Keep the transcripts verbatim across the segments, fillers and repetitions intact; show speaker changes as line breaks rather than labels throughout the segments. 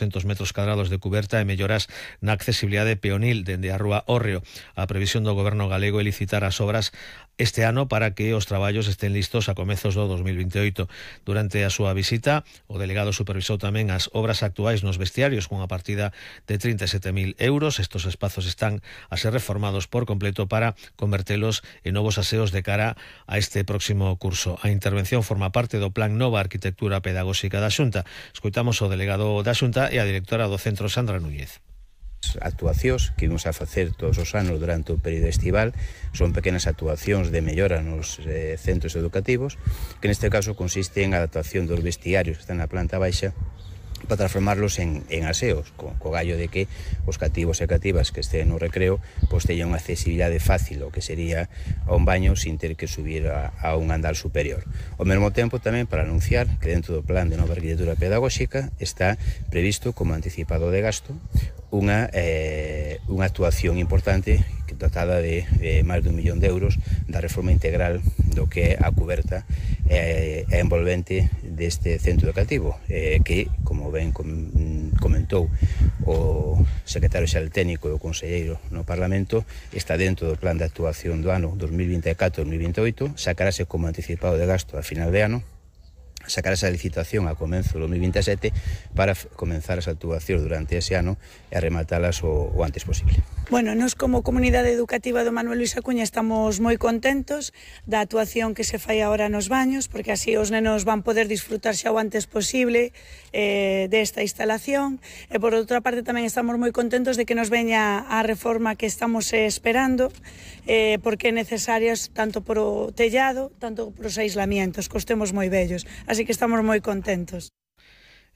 oitocentos metros cadrados de cuberta e melloras na accesibilidade peonil dende a rúa Hórreo. A previsión do Goberno galego é licitar as obras este ano para que os traballos estén listos a comezos do dos mil veintioito. Durante a súa visita, o delegado supervisou tamén as obras actuais nos vestiarios cunha partida de trinta e sete mil euros. Estos espazos están a ser reformados por completo para convertelos en novos aseos de cara a este próximo curso. A intervención forma parte do Plan Nova Arquitectura Pedagóxica da Xunta. Escoitamos o delegado da Xunta e a directora do centro, Sandra Núñez.
Actuacións que vimos a facer todos os anos durante o período estival son pequenas actuacións de mellora nos eh, centros educativos, que neste caso consiste en a adaptación dos vestiarios que están na planta baixa para transformarlos en, en aseos, co, co gallo de que os cativos e cativas que estén no recreo pois teñan unha accesibilidade fácil, o que sería a un baño sin ter que subir a, a un andar superior. Ao mesmo tempo tamén para anunciar que dentro do Plan de Nova Arquitectura Pedagóxica está previsto como anticipado de gasto unha, eh, unha actuación importante que tratada de eh, máis de un millón de euros da reforma integral do que é a cuberta e eh, envolvente deste centro educativo, eh, que, como ben comentou o secretario xeral técnico e o conselleiro no Parlamento, está dentro do plan de actuación do ano dos mil vinte e catro dos mil veintioito, sacarase como anticipado de gasto a final de ano, sacarase a licitación a comenzo do dos mil vinte e sete para comenzar as actuacións durante ese ano e a rematalas o, o antes posible.
Bueno, nos como comunidade educativa do Manuel Luis Acuña estamos moi contentos da actuación que se fai agora nos baños, porque así os nenos van poder disfrutar xa o antes posible eh, desta instalación, e por outra parte tamén estamos moi contentos de que nos veña a reforma que estamos eh, esperando, eh, porque é necesaria tanto por o tellado, tanto por os aislamientos, que os temos moi bellos, así que estamos moi contentos.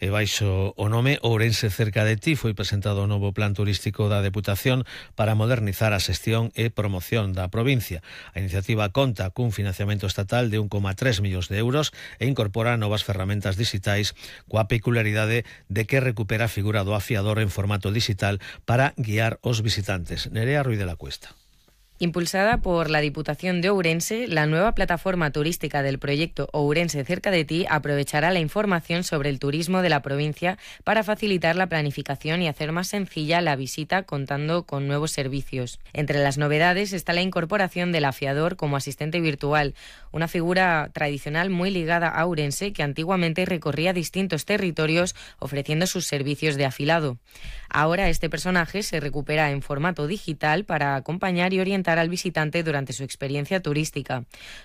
E baixo o nome Ourense cerca de ti foi presentado o novo plan turístico da Deputación para modernizar a xestión e promoción da provincia. A iniciativa conta cun financiamento estatal de un coma tres millóns de euros e incorpora novas ferramentas digitais coa peculiaridade de que recupera a figura do afiador en formato digital para guiar os visitantes. Nerea Ruiz de la Cuesta.
Impulsada por la Diputación de Ourense, la nueva plataforma turística del proyecto Ourense cerca de ti aprovechará la información sobre el turismo de la provincia para facilitar la planificación y hacer más sencilla la visita, contando con nuevos servicios. Entre las novedades está la incorporación del afiador como asistente virtual, una figura tradicional muy ligada a Ourense que antiguamente recorría distintos territorios ofreciendo sus servicios de afilado. Ahora este personaje se recupera en formato digital para acompañar y orientar al visitante durante su experiencia turística.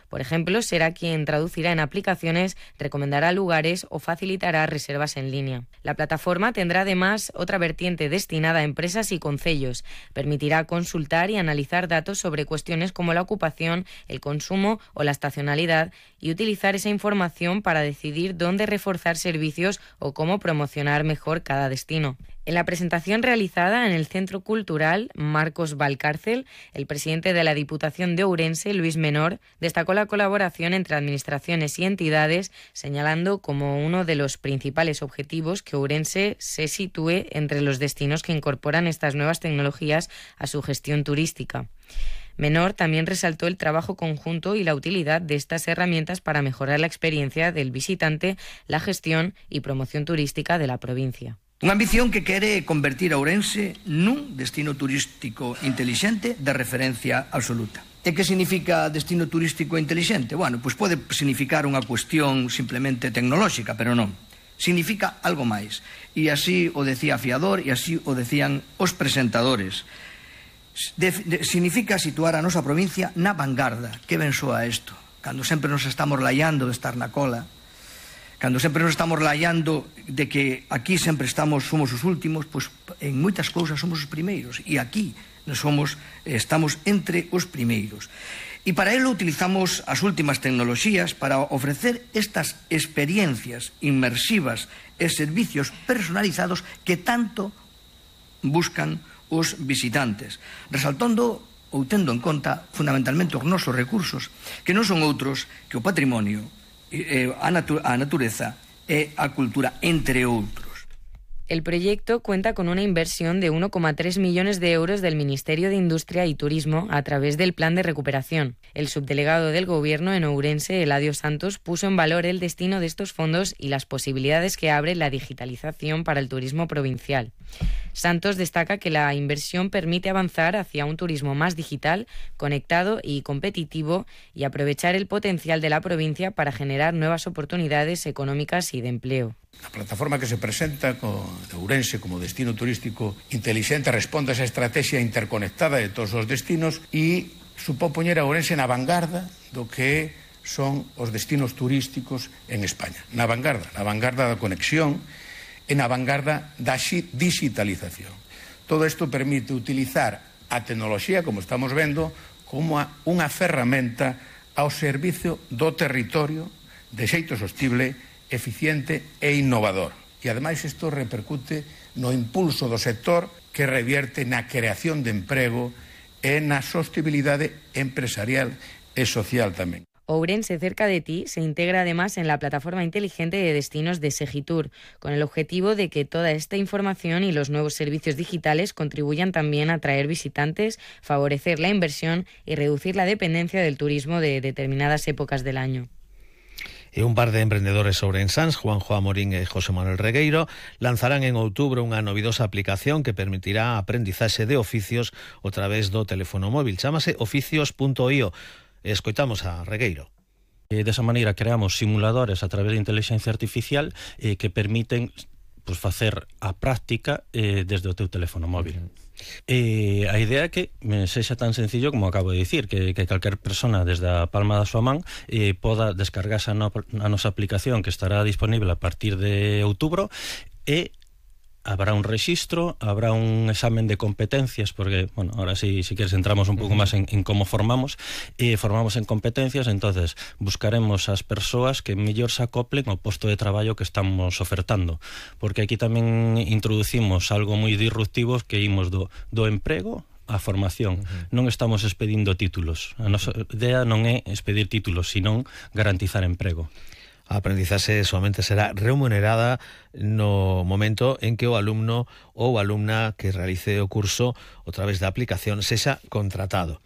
Por ejemplo, será quien traducirá en aplicaciones, recomendará lugares o facilitará reservas en línea. La plataforma tendrá además otra vertiente destinada a empresas y concellos. Permitirá consultar y analizar datos sobre cuestiones como la ocupación, el consumo o la estacionalidad y utilizar esa información para decidir dónde reforzar servicios o cómo promocionar mejor cada destino. En la presentación realizada en el Centro Cultural Marcos Valcárcel, el presidente de la Diputación de Ourense, Luis Menor, destacó la colaboración entre administraciones y entidades, señalando como uno de los principales objetivos que Ourense se sitúe entre los destinos que incorporan estas nuevas tecnologías a su gestión turística. Menor también resaltó el trabajo conjunto y la utilidad de estas herramientas para mejorar la experiencia del visitante, la gestión y promoción turística de la provincia.
Unha ambición que quere convertir a Ourense nun destino turístico intelixente de referencia absoluta. E que significa destino turístico intelixente? Bueno, pois pode significar unha cuestión simplemente tecnolóxica, pero non. Significa algo máis. E así o decía Afiador e así o decían os presentadores. De, de, significa situar a nosa provincia na vanguarda. Que ben soa isto? Cando sempre nos estamos laiando de estar na cola, cando sempre nos estamos laiando de que aquí sempre estamos somos os últimos, pois en moitas cousas somos os primeiros, e aquí somos, estamos entre os primeiros. E para ello utilizamos as últimas tecnoloxías para ofrecer estas experiencias inmersivas e servicios personalizados que tanto buscan os visitantes, resaltando ou tendo en conta fundamentalmente os nosos recursos, que non son outros que o patrimonio, a, natu a natureza e a cultura, entre outros.
El proyecto cuenta con una inversión de uno coma tres millones de euros del Ministerio de Industria y Turismo a través del Plan de Recuperación. El subdelegado del Gobierno en Ourense, Eladio Santos, puso en valor el destino de estos fondos y las posibilidades que abre la digitalización para el turismo provincial. Santos destaca que la inversión permite avanzar hacia un turismo más digital, conectado y competitivo y aprovechar el potencial de la provincia para generar nuevas oportunidades económicas y de empleo.
A plataforma que se presenta con Ourense como destino turístico inteligente responde a esa estrategia interconectada de todos os destinos e supón poñer a Ourense na vanguarda do que son os destinos turísticos en España. Na vanguarda, na vanguarda da conexión e na vanguarda da digitalización. Todo isto permite utilizar a tecnoloxía, como estamos vendo, como unha ferramenta ao servicio do territorio de xeito sostible, eficiente e innovador. E, ademais, isto repercute no impulso do sector que revierte na creación de emprego e na sostenibilidade empresarial e social tamén.
Ourense Cerca de Ti se integra además en la plataforma inteligente de destinos de Segitur, con el objetivo de que toda esta información y los nuevos servicios digitales contribuyan también a atraer visitantes, favorecer la inversión y reducir la dependencia del turismo de determinadas épocas del año.
E un par de emprendedores ourensans, Juanjo Amorín e José Manuel Regueiro, lanzarán en outubro unha novidosa aplicación que permitirá a aprendizaxe de oficios a través do teléfono móvil. Chámase oficios punto i o. Escoitamos a Regueiro.
E desa maneira creamos simuladores a través de inteligencia artificial eh, que permiten pues, facer a práctica eh, desde o teu teléfono móvil. Uh-huh. E a idea é que me sexa tan sencillo como acabo de dicir, que, que calquer persona desde a palma da súa man eh, poda descargarse a, no, a nosa aplicación que estará disponible a partir de outubro e habrá un rexistro, habrá un examen de competencias, porque, bueno, ahora sí, si quieres entramos un pouco máis en, en como formamos, e formamos en competencias, entonces buscaremos as persoas que mellor se acoplen ao posto de traballo que estamos ofertando, porque aquí tamén introducimos algo moi disruptivo que imos do, do emprego a formación. Uh-huh. Non estamos expedindo títulos. A nosa idea non é expedir títulos, sino garantizar emprego.
A aprendizaxe somente será remunerada no momento en que o alumno ou alumna que realice o curso a través da aplicación sexa contratado.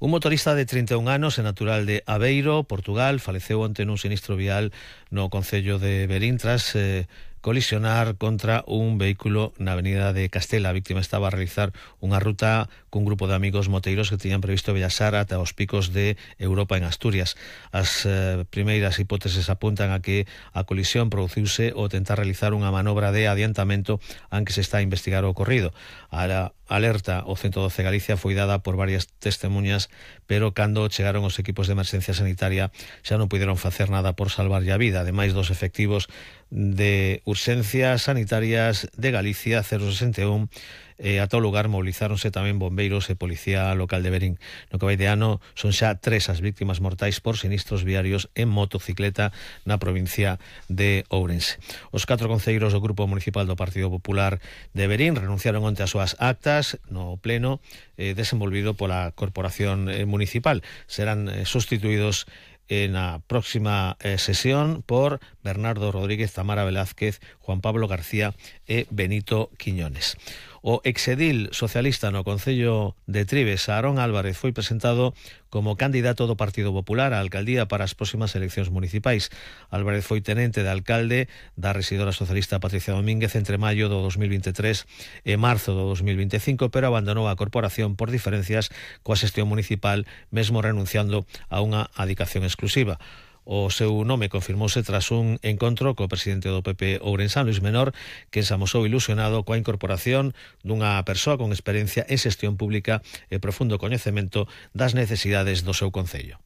Un motorista de trinta e un anos e natural de Aveiro, Portugal, faleceu onte nun sinistro vial no concello de Verín tras eh, colisionar contra un vehículo na avenida de Castela. A víctima estaba a realizar unha ruta cun grupo de amigos moteiros que tiñan previsto viaxar ata os picos de Europa en Asturias. As eh, primeiras hipóteses apuntan a que a colisión produciuse ao tentar realizar unha manobra de adiantamento en que se está a investigar o ocorrido. A alerta ao ciento doce Galicia foi dada por varias testemunhas, pero cando chegaron os equipos de emerxencia sanitaria xa non puderon facer nada por salvarlle a vida. Ademais dos efectivos de urxencias sanitarias de Galicia cero sesenta e un, eh, a tal lugar movilizáronse tamén bombeiros e policía local de Verín. No que vai de ano son xa tres as víctimas mortais por sinistros viarios en motocicleta na provincia de Ourense. Os catro concelleiros do Grupo Municipal do Partido Popular de Verín renunciaron onte as súas actas no pleno eh, desenvolvido pola Corporación eh, Municipal. Serán eh, sustituídos en a próxima eh, sesión por Bernardo Rodríguez, Tamara Velázquez, Juan Pablo García e Benito Quiñones. O exedil socialista no Concello de Trives, Aarón Álvarez, foi presentado como candidato do Partido Popular á alcaldía para as próximas eleccións municipais. Álvarez foi tenente de alcalde da rexidora socialista Patricia Domínguez entre maio do dos mil vinte e tres e marzo do dos mil vinte e cinco, pero abandonou a corporación por diferencias coa xestión municipal, mesmo renunciando a unha adicación exclusiva. O seu nome confirmouse tras un encontro co presidente do P P ourensán, Luis Menor, que se amosou ilusionado coa incorporación dunha persoa con experiencia en xestión pública e profundo coñecemento das necesidades do seu concello.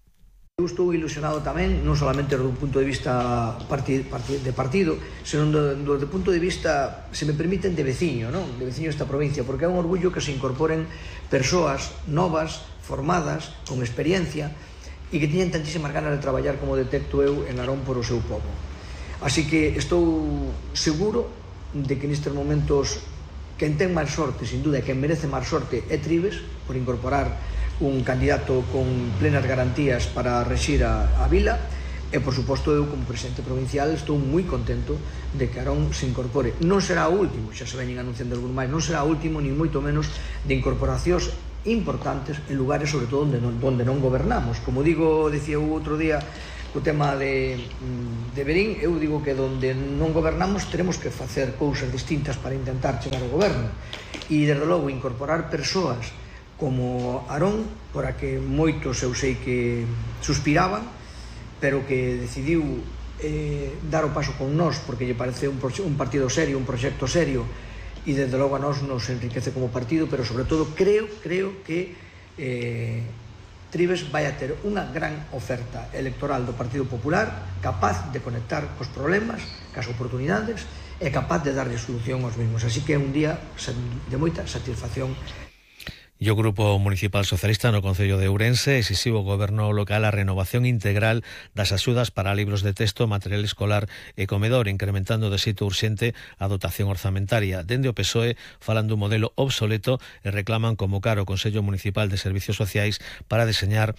Eu estou ilusionado tamén, non solamente do punto de vista parti, parti, de partido, senón do, do, do punto de vista, se me permiten, de veciño, non? De veciño desta provincia, porque é un orgullo que se incorporen persoas novas, formadas, con experiencia, e que tiñen tantísimas ganas de traballar como detecto eu en Narón por o seu povo. Así que estou seguro de que nestes momentos quen ten máis sorte, sin duda, e quen merece máis sorte é Trives, por incorporar un candidato con plenas garantías para rexir a, a vila, E, por suposto, eu como presidente provincial estou moi contento de que Arón se incorpore. Non será o último, xa se veñen anunciando algún máis, non será o último, ni moito menos, de incorporacións importantes en lugares, sobre todo, onde non, onde non gobernamos. Como digo, decía o outro día, o tema de, de Berín, eu digo que onde non gobernamos teremos que facer cousas distintas para intentar chegar ao goberno. E, desde logo, incorporar persoas como Arón, por a que moitos eu sei que suspiraban, pero que decidiu eh, dar o paso con nós porque lle parece un, un partido serio, un proxecto serio, e desde logo a nós nos enriquece como partido, pero sobre todo creo, creo que eh, Trives vai a ter unha gran oferta electoral do Partido Popular, capaz de conectar cos problemas, cas oportunidades, e capaz de darlle solución aos mesmos. Así que é un día de moita satisfacción.
E o Grupo Municipal Socialista no Concello de Ourense exixiu ao Goberno local a renovación integral das axudas para libros de texto, material escolar e comedor, incrementando de xeito urxente a dotación orzamentaria. Dende o P S O E falan dun modelo obsoleto e reclaman convocar o Consello Municipal de Servicios Sociais para deseñar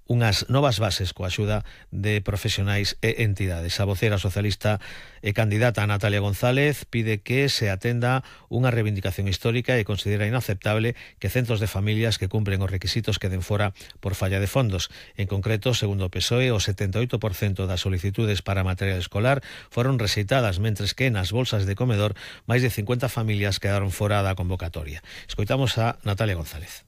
unhas novas bases coa axuda de profesionais e entidades. A vocera socialista e candidata Natalia González pide que se atenda unha reivindicación histórica e considera inaceptable que centos de familias que cumpren os requisitos queden fora por falla de fondos. En concreto, segundo o P S O E, o setenta e oito por cento das solicitudes para material escolar foron rexeitadas, mentres que nas bolsas de comedor máis de cincuenta familias quedaron fora da convocatoria. Escoitamos a Natalia González.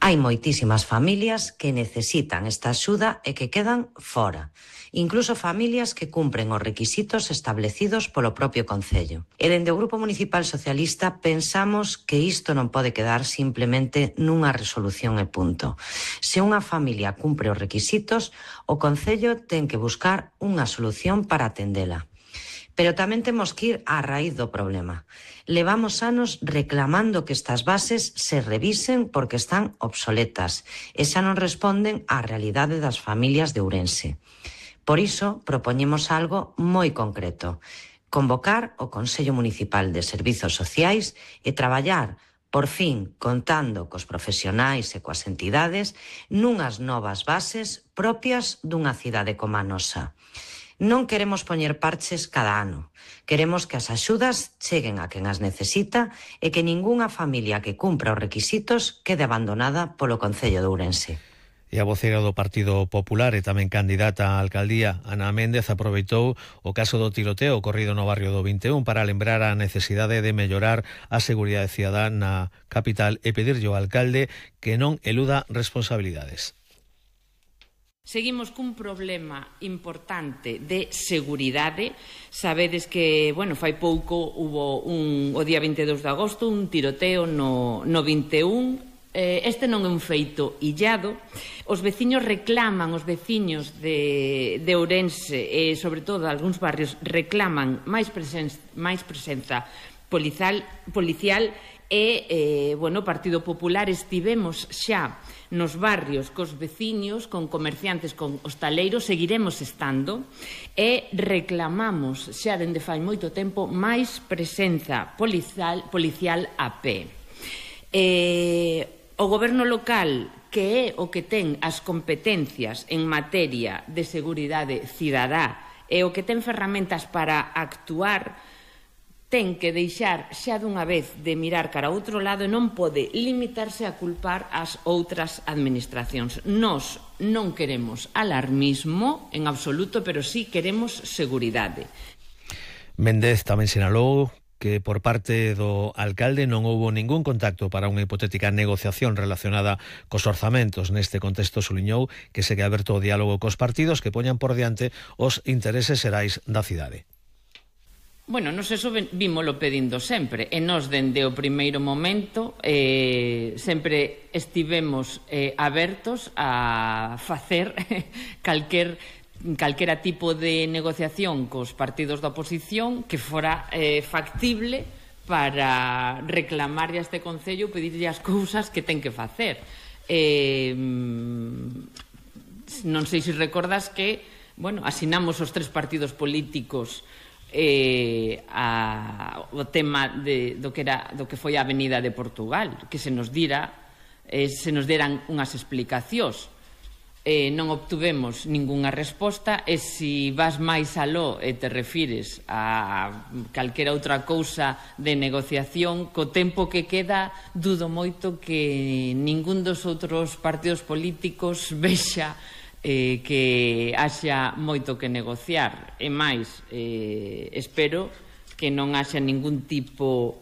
Hai moitísimas familias que necesitan esta axuda e que quedan fora. Incluso familias que cumpren os requisitos establecidos polo propio Concello. E dende o Grupo Municipal Socialista pensamos que isto non pode quedar simplemente nunha resolución e punto. Se unha familia cumpre os requisitos, o Concello ten que buscar unha solución para atendela. Pero tamén temos que ir á raíz do problema. Levamos anos reclamando que estas bases se revisen porque están obsoletas e xa non responden á realidade das familias de Ourense. Por iso, propoñemos algo moi concreto. Convocar o Consello Municipal de Servizos Sociais e traballar, por fin, contando cos profesionais e coas entidades, nunhas novas bases propias dunha cidade como a nosa. Non queremos poñer parches cada ano. Queremos que as axudas cheguen a quen as necesita e que ningunha familia que cumpra os requisitos quede abandonada polo Concello de Ourense.
E a vocera do Partido Popular e tamén candidata á alcaldía, Ana Méndez, aproveitou o caso do tiroteo ocorrido no barrio do vinte e un para lembrar a necesidade de mellorar a seguridade cidadá na capital e pedirlle ao alcalde que non eluda responsabilidades.
Seguimos cun problema importante de seguridade. Sabedes que, bueno, fai pouco hubo un, o día vinte e dous de agosto un tiroteo no, no vinte e un. Eh, este non é un feito illado. Os veciños reclaman, os veciños de, de Ourense e, sobre todo, algúns barrios reclaman máis presenza, máis presenza policial, policial e, eh, bueno, o Partido Popular estivemos xa nos barrios cos veciños, con comerciantes, con hostaleiros, seguiremos estando e reclamamos xa dende fai moito tempo máis presenza policial, policial a pé. Eh, o goberno local, que é o que ten as competencias en materia de seguridade cidadá e o que ten ferramentas para actuar, ten que deixar xa dunha vez de mirar cara a outro lado e non pode limitarse a culpar as outras administracións. Nós non queremos alarmismo en absoluto, pero sí queremos seguridade.
Méndez tamén sinalou que por parte do alcalde non houbo ningún contacto para unha hipotética negociación relacionada cos orzamentos. Neste contexto suliñou que segue aberto o diálogo cos partidos que poñan por diante os intereses xerais da cidade.
Bueno, nos eso vímolo pedindo sempre, e nos dende o primeiro momento eh, sempre estivemos eh, abertos a facer calquer, calquera tipo de negociación cos partidos da oposición que fora eh, factible para reclamarlle a este Concello, pedirlle as cousas que ten que facer. Eh, non sei se recordas que, bueno, asinamos os tres partidos políticos Eh, a, o tema de, do, que era, do que foi a Avenida de Portugal, que se nos dira eh, se nos deran unhas explicacións. eh, non obtuvemos ningunha resposta, e se vas máis aló e te refires a calquera outra cousa de negociación, co tempo que queda, dudo moito que ningún dos outros partidos políticos vexa eh, que haxa moito que negociar. E máis, eh, espero que non haxa ningún tipo